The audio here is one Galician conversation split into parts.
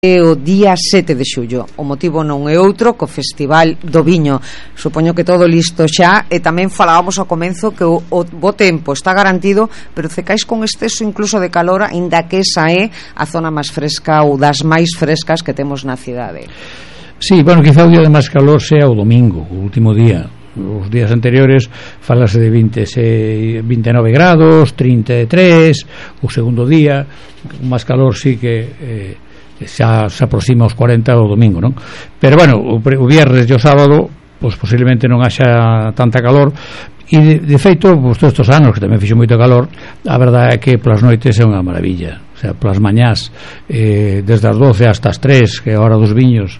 o día 7 de xullo. O motivo non é outro co Festival do Viño. Supoño que todo listo xa, e tamén falábamos ao comenzo que o bo tempo está garantido, pero cecais con exceso incluso de calor, aínda que esa é a zona máis fresca ou das máis frescas que temos na cidade. Sí, bueno, quizá o día de máis calor sea o domingo, o último día. Os días anteriores falase de 29 grados, 33, o segundo día o máis calor sí que xa se aproxima aos 40 o domingo, non? Pero bueno, o viernes e o sábado pois posiblemente non haxa tanta calor, e de feito, pois todos estes anos que tamén fixo moito calor, a verdade é que polas noites é unha maravilla. O sea, polas mañás desde as 12 hasta as 3, que é a hora dos viños,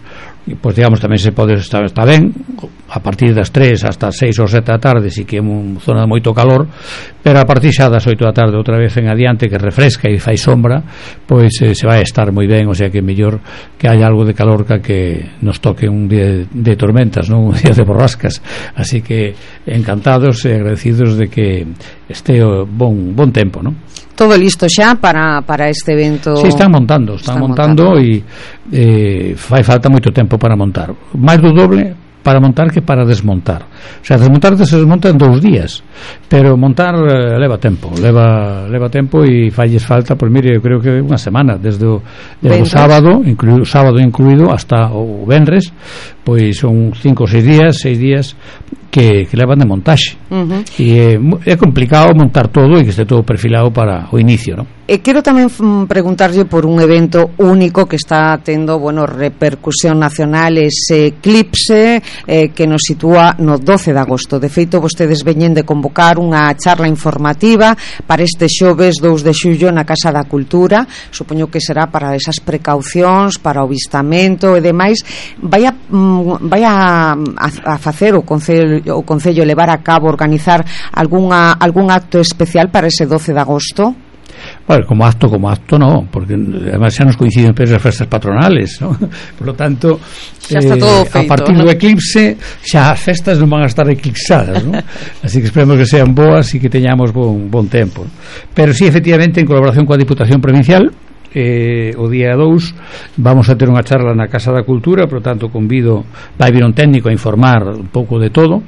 pois digamos tamén se pode estar ben. A partir das 3 hasta as 6 ou 7 da tarde sí que é unha zona de moito calor, pero a partir xa das 8 da tarde outra vez en adiante, que refresca e fai sombra, pois se vai estar moi ben. O sea que é mellor que haya algo de calor que nos toque un día de tormentas, non un día de borrascas. Así que encantados e agradecidos de que este bon tempo, non? Todo listo xa para este evento. Sí, están montando e fai falta moito tempo para montar, máis do doble para montar que para desmontar. O sea, desmontar se desmonta en 2 días, pero montar leva tempo e falles falta, pois mire, eu creo que unha semana desde o sábado incluído hasta o venres, pois son 5 ou 6 días que levan de montaxe. E é complicado montar todo e que este todo perfilado para o inicio, non? E quero tamén preguntarlle por un evento único que está tendo, bueno, repercusión nacional, ese eclipse que nos sitúa no 12 de agosto. De feito, vostedes veñen de convocar unha charla informativa para este xoves 2 de xullo na Casa da Cultura. Supoño que será para esas precaucións, para o avistamento e demais. Vai a facer o Concello levar a cabo, organizar algún acto especial para ese 12 de agosto? Bueno, como acto no, porque además xa nos coinciden as festas patronales, ¿no? Por lo tanto, xa está todo feito, a partir do eclipse xa as festas non van a estar eclipsadas, ¿no? Así que esperemos que sean boas e que teñamos bon tempo. Pero sí, efectivamente, en colaboración coa Diputación Provincial, o día 2 vamos a ter unha charla na Casa da Cultura. Por lo tanto convido, vai vir un técnico a informar un pouco de todo,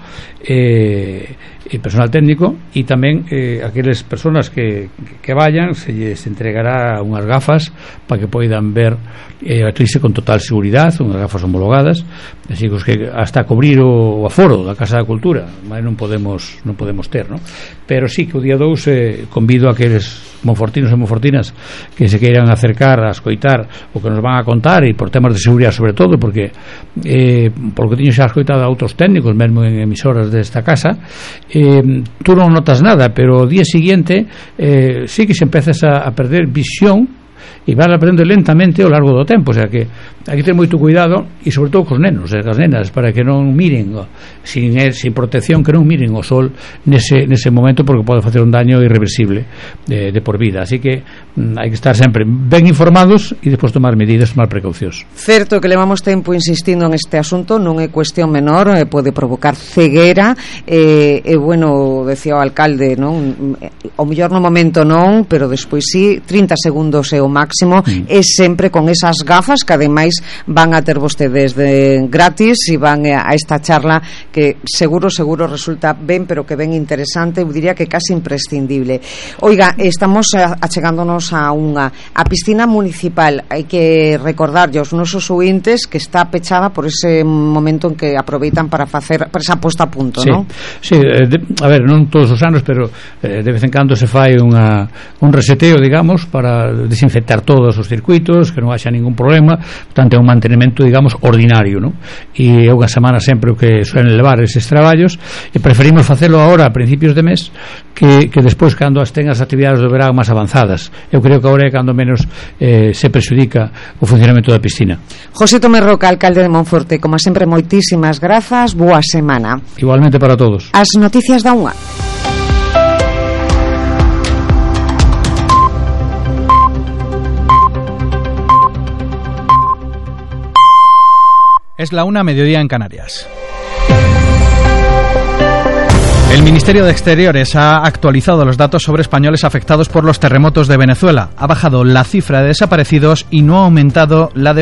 personal técnico, e tamén aqueles personas que vayan se lles entregará unhas gafas para que poidan ver a eclipse con total seguridade, unhas gafas homologadas, así que hasta cubrir o aforo da Casa da Cultura mas non podemos ter, ¿no? Pero sí que o día 2 convido a aqueles monfortinos e monfortinas que se queiran acercar a escoitar o que nos van a contar, e por temas de seguridade sobre todo, porque por lo que teño xa escoitado a outros técnicos mesmo en emisoras desta casa, tú non notas nada, pero o día seguinte sí que se empezas a perder visión e vas aprendendo lentamente ao largo do tempo. O sea que hai que ter moito cuidado, e sobre todo cos nenos e as nenas, para que non miren sin protección, que non miren o sol nese momento, porque pode facer un daño irreversible de por vida. Así que hai que estar sempre ben informados e despois tomar medidas, tomar precaucións. Certo que levamos tempo insistindo en este asunto, non é cuestión menor, pode provocar ceguera, bueno, decía o alcalde, non? O mellor no momento non, pero despois sí, 30 segundos é o máximo, é sempre con esas gafas que ademais van a ter vostedes de gratis, e van a esta charla que seguro resulta ben, pero que ben interesante, eu diría que casi imprescindible. Oiga, estamos achegándonos a piscina municipal. Hai que recordarlle aos nosos ointes que está pechada por ese momento en que aproveitan para facer esa posta a punto, sí, non? Sí, a ver, non todos os anos, pero de vez en cando se fai un reseteo, digamos, para desinfectar todos os circuitos, que non haxa ningún problema. Portanto, é un mantenimento, digamos, ordinario, non? E é unha semana sempre o que suelen levar eses traballos, e preferimos facelo agora a principios de mes que despois cando ten as actividades do verán máis avanzadas. Eu creo que agora é cando menos se perxudica o funcionamento da piscina. José Tomé Roca, alcalde de Monforte, como sempre, moitísimas grazas, boa semana. Igualmente para todos. As noticias da unha. Es la 1:00 mediodía en Canarias. El Ministerio de Exteriores ha actualizado los datos sobre españoles afectados por los terremotos de Venezuela. Ha bajado la cifra de desaparecidos y no ha aumentado la de